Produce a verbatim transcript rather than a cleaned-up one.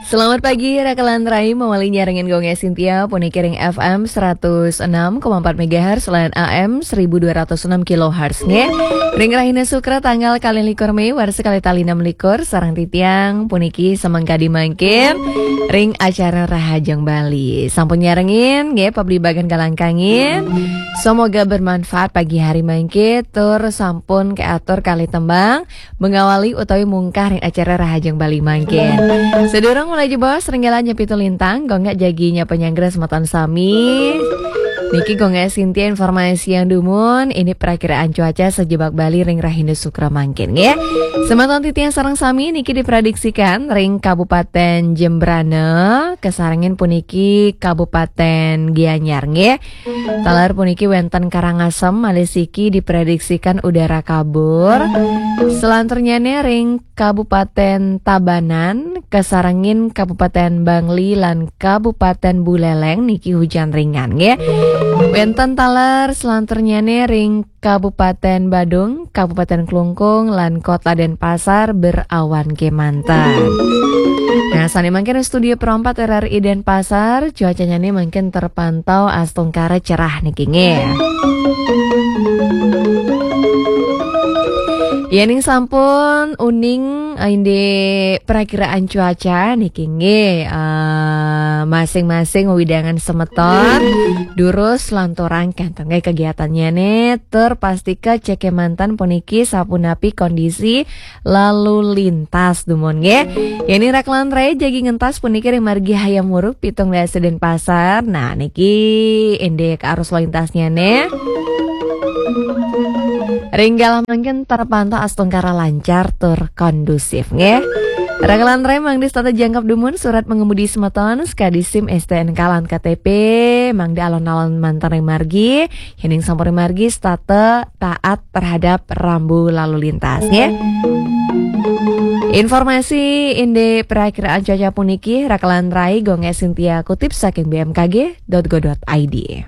Selamat pagi, Raka lan Rai, mawali nyarengin Gung Gai Sintia, puniki ring F M seratus enam koma empat megahertz lan A M seribu dua ratus enam kilohertz, nggih. Ring rahina Sukra tanggal kalih likur Mei, warsa kalih tali enam likur, sareng titiang puniki samangkadi mangkin ring acara Rahajeng Bali. Sampun nyarengin, nggih, pablibagan galangkangin. Semoga bermanfaat pagi hari mangke, tur sampun keatur kalih tembang mengawali utawi mungkah ring acara Rahajeng Bali mangkin. Sedurung mulai jebos, ring galah nyepitu lintang, Gung Gai jagi nyapa nyanggra semeton sami. Niki Gung Gai Sintia informasiang dumun, ini perakiraan cuaca sajebag Bali ring rahina Sukra mangkin, nggih. Semeton titiang sareng sami niki diprediksikan ring Kabupaten Jembrana, kasarengin puniki Kabupaten Gianyar, nggih. Taler puniki wenten Karangasem malih siki diprediksikan udara kabur. Selanturnyane ring Kabupaten Tabanan, kasarengin Kabupaten Bangli lan Kabupaten Buleleng niki hujan ringan, nggih. Wenten taler selanturnyane ring Kabupaten Badung, Kabupaten Klungkung, lan Kota Denpasar berawan kemanten. Nah, sane mangkin studio perempat R R I Denpasar, cuacanya nih mungkin terpantau astungkara cerah niki, nggih. Yening sampun uning, eh, indik perakiraan cuaca niki, nggih, eh, masing-masing wewidangan semeton durus lanturang kenten, nggih, kegiatannya nih, tur pastika cek kemanten puniki sapunapi kondisi lalu lintas dumun, nggih. Yening Raka lan Rai jagi ngentas puniki ring margi Hayam Wuruk pitung dasa Denpasar. Nah, niki indik arus lalu lintasnya nih. Ring galah mangkin terpantau astungkara lancar tur kondusif, nggih. Raka lan Rai mangda setata jangkep dumun surat mengemudi semeton, sakadi SIM, S T N K lan K T P, mangda alon-alon manten ring margi, yening sampun ring margi setata taat terhadap rambu lalu lintas, nggih. Informasi indik perakiraan cuaca puniki Raka lan Rai Gung Gai Sintia kutip saking B M K G dot go dot I D.